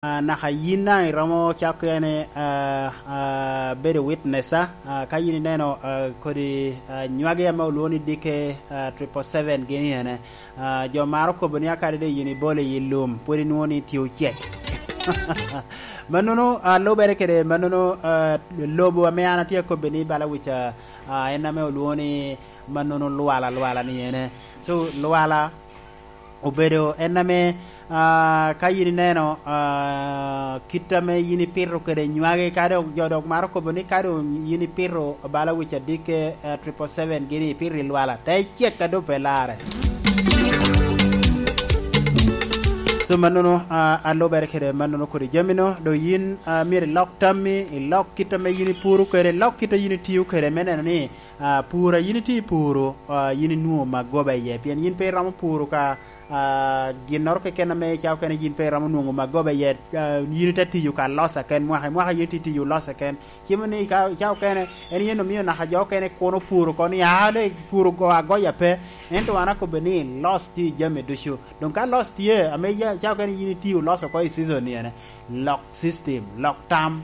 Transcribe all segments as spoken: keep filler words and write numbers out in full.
Ah, naka yin daŋ iromo cako kene, ah, ah, bedo witness, ah, ah, ka yin ineno, ah, kodi, ah, nywagi ame olwoŋo ni dike, ah, triple seven gini ene. Ah, jo maro kobo ni akadi doŋ yin ibolo i lum, pwod inwoŋo ni tye ocek. Mannono, ah, lubere kede mannono, ah, lobo ame an atye akobbe ni bala wica, ah, en ame olwoŋo ni mannono lwala, lwala ni ene. So, lwala obedo en ame, ah, ka yin ineno, ah, kit ame yin ipito kede nywagi, ka dok jo dok maro kobo ni ka dong yin ipito bala wic adikke, ah, triple seven gini ipito i lwala, te cek a doŋ pe larre. So, mannono, ah, alubere kede mannono kodi jamino, do yin, ah, myero ilok tammi, ilok kit ame yin ipuro kede, ilok kit a yin itiyo kede, me neno ni, ah, pur a yin itye i puro, ah, yin inwoŋo magoba iye, pien yin pe iromo puro ka, ah, ginnoro keken ame icako kene yin pe iromo nwoŋo magoba iye, ah, yin ite tiyo ka losa ken mwaka i mwaka, yin itye tiyo losa ken. Cimo ni ka icako kene, en yen omio naka jo okene kuno puro oko ni, "Ah, le puro go agoya pe." Ento an akobbe ni los tye i jami ducu. Doŋ ka los tye, ame ya-, icako kene yin itye oloso oko i season ni ene, lok system, lok tam.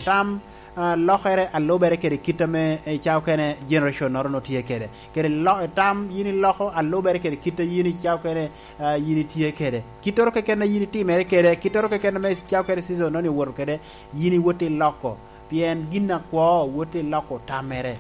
Tam, ah, lokere alubere kede kit ame icako kene generation noro no tye kede. Kede lo-, tam yin iloko alubere kede kit a yin icako kene, ah, yin itye kede. Kittoro keken a yin itimere kede, kittoro keken ame icako kene season noni owoto kede, yin iwot iloko. Pien gin akwo wot iloko tamere.